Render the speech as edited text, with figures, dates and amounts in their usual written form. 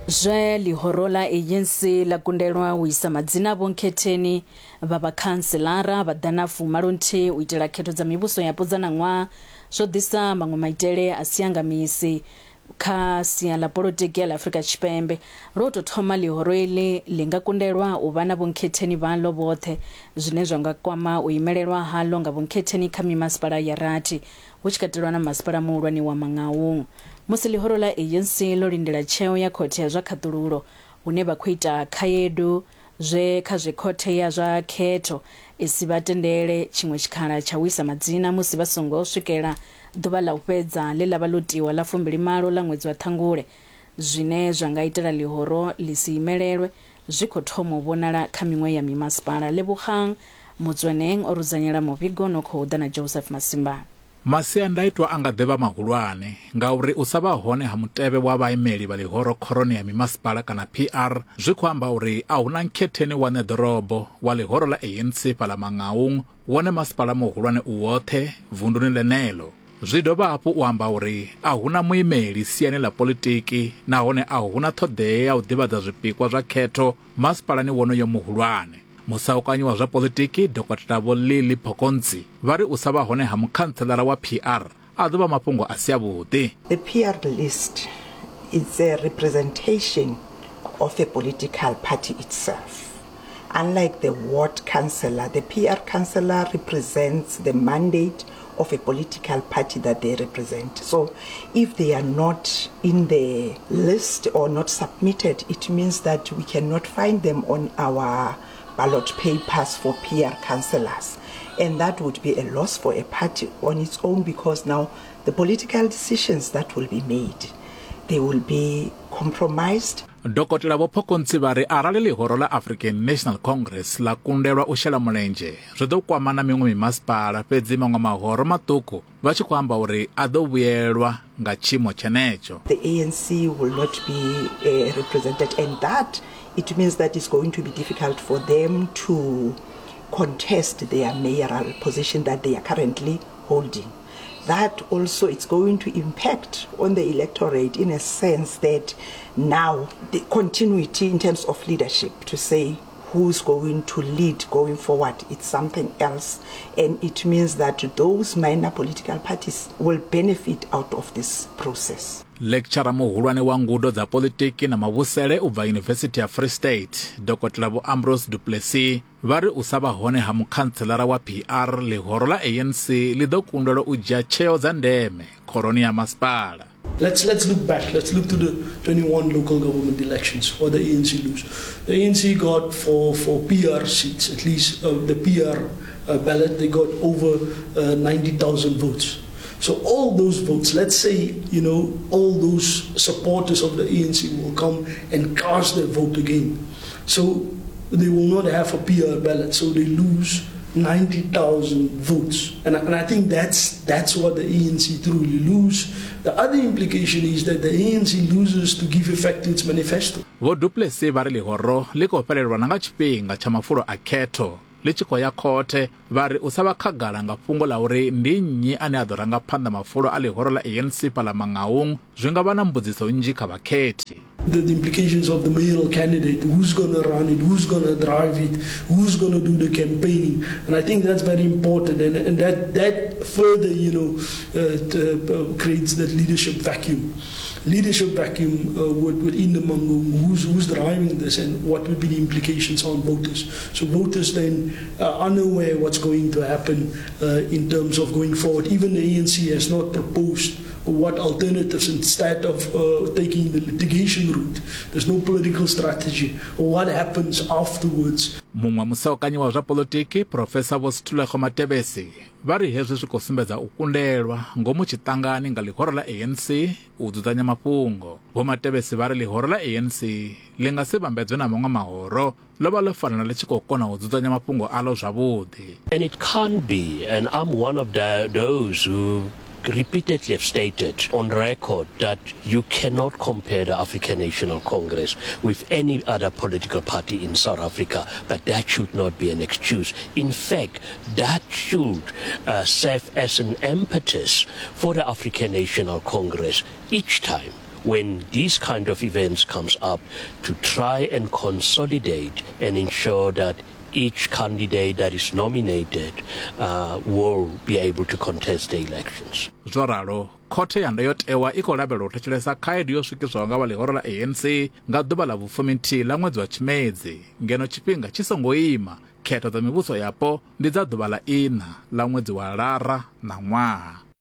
Zwe ḽihoro ḽa ANC ḽa kundelwa u isa madzina a vhonkhetheni vha vhakhantselara vha ḓana fumalonthihi u itela khetho dza mivhuso yapo dza ṋaṅwaha zwo ḓisa maṅwe maitele a si anga misi kha sia ḽa polotiki ya ḽa Afrika Tshipembe. Lwo tou thoma ḽihoro iḽi ḽi nga kundelwa u vha na vhonkhetheni vhaḽo vhoṱhe zwine zwa nga kwama u imelelwa haḽo nga vhonkhetheni kha mimasipala ya rathi hu tshi katelwa na masipala muhulwane wa Mangaung. Musi ḽihoro ḽa ANC ḽo lindela tsheo ya khothe ya zwa khaṱululo hune vha khou ita khaedu zwe kha zwe khothe ya zwa khetho i si vha tendele tshiṅwe tshikhala tsha u isa madzina musi vha songo swikela ḓuvha ḽa u fhedza ḽe ḽa vha ḽo tiwa ḽa 28 ḽa ṅwedzi wa Ṱhangule. Zwine zwa nga itela ḽihoro ḽi si imelelwe zwi khou thoma u vhonala kha miṅwe ya mimasipala. Lebogang Motsoeneng o rudzanyela muvhigo no khou ḓa na Joseph Masimba. Masiandaitwa a nga ḓi vha mahulwane ngauri u sa vha hone ha mutevhe wa vhaimeli vha ḽihoro khoroni ya mimasipala kana PR zwi khou amba uri a hu na nkhetheni wa ṋeḓorobo wa ḽihoro ḽa ANC fhaḽa Mangaung, wone masipala muhulwane u woṱhe vunduni ḽeneḽo. Zwi dovha hafhu u amba uri a hu na muimeli siani ḽa politiki nahone a hu na ṱhoḓea ya u ḓivhadza zwipikwa zwa khetho masipalani wonoyo muhulwane. Musaukanyi wa zwa politiki Dokotela Vho Lily Phokontsi vha ri u sa vha hone ha mukhantselara wa PR a ḓo vha mafhungo a si avhuḓi. The PR list is a representation of a political party itself. Unlike the ward councillor, the PR councillor represents the mandate of a political party that they represent. So if they are not in the list or not submitted, it means that we cannot find them on our ballot papers for PR councillors. And that would be a loss for a party on its own, because now the political decisions that will be made, they will be compromised. Dokotela Vho Phokontsi vha ri arali ḽihoro ḽa African National Congress ḽa kundelwa u shela mulenzhe zwi ḓo kwama na miṅwe mimasipala, fhedzi maṅwe mahoro maṱuku vha tshi khou amba uri a ḓo vhuyelwa nga tshiimo tshenetsho. The ANC will not be uh, represented and that it means that it's going to be difficult for them to contest their mayoral position that they are currently holding. That also it's going to impact on the electorate in a sense that now the continuity in terms of leadership to say who's going to lead going forward, it's something else. And it means that those minor political parties will benefit out of this process. Lecturer muhulwane wa ngudo dza politiki na mavhusele u bva Yunivesithi ya Free State, Dokotela Vho Ambrose Du Plessis, vha ri u sa vha hone ha mukhantselara wa PR ḽihoro ḽa ANC ḽi ḓo kundelwa u dzhia tsheo dza ndeme khoroni ya masipala. Let's, let's look back. Let's look to the 21 local government elections, what the ANC lose. The ANC got for, for PR seats, at least uh, the PR uh, ballot, they got over uh, 90,000 votes. So all those votes, let's say, you know, all those supporters of the ANC will come and cast their vote again. So they will not have a PR ballot, so they lose 90,000 votes. And, and I think that's, that's what the ANC truly lose. The other implication is that the ANC loses to give effect to its manifesto. Vho Du Plessis vha ri ḽihoro ḽi khou fhelelwa na nga tshifhinga tsha mafulo a khetho ḽi tshi khou ya khothe. Vha ri u sa vha khagala nga fhungo ḽa uri ndi nnyi ane a ḓo ranga phanḓa mafulo a ḽihoro ḽa ANC fhaḽa Mangaung zwi nga vha na mbudziso nnzhi kha vhakhethi. The, the implications of the mayoral candidate, who's going to run it, who's going to drive it, who's going to do the campaigning. And I think that's very important. And, and that, that further, you know, uh, uh, creates that leadership vacuum. Leadership vacuum uh, within the Mangaung, who's, who's driving this and what would be the implications on voters. So voters then are unaware what's going to happen uh, in terms of going forward. Even the ANC has not proposed what alternatives instead of uh, taking the litigation route. There's no political strategy. What happens afterwards? Muṅwe musaukanyi wa zwa politiki Profesa Vho Sithulego Matebesi vha ri hezwi zwi khou sumbedza u kundelwa ngomu tshiṱangani nga ḽihoro ḽa ANC u dzudzanya mafhungo. Vho Matebesi vha ri ḽihoro ḽa ANC ḽi nga si vhambedzwe na maṅwe mahoro ḽo vha ḽo fanela ḽi tshi khou kona u dzudzanya mafhungo aḽo zwavhuḓi. And it can't be, and I'm one of the, those who repeatedly have stated on record that you cannot compare the African National Congress with any other political party in South Africa, but that should not be an excuse. In fact, that should uh, serve as an impetus for the African National Congress each time. when these kind of events comes up to try and consolidate and ensure that each candidate that is nominated uh, will be able to contest the elections. Zwo ralo, khothe ya ndayotewa i khou lavhelelwa u thetshelesa khaedu yo swikiswaho nga vha ḽihoro ḽa ANC nga ḓuvha ḽa vhufuminthihi ḽa ṅwedzi wa Tshimedzi, ngeno tshifhinga tshi songo ima. Khetho dza mivhuso yapo ndi dza ḓuvha ḽa iṋa ḽa ṅwedzi wa Lara ṋaṅwaha.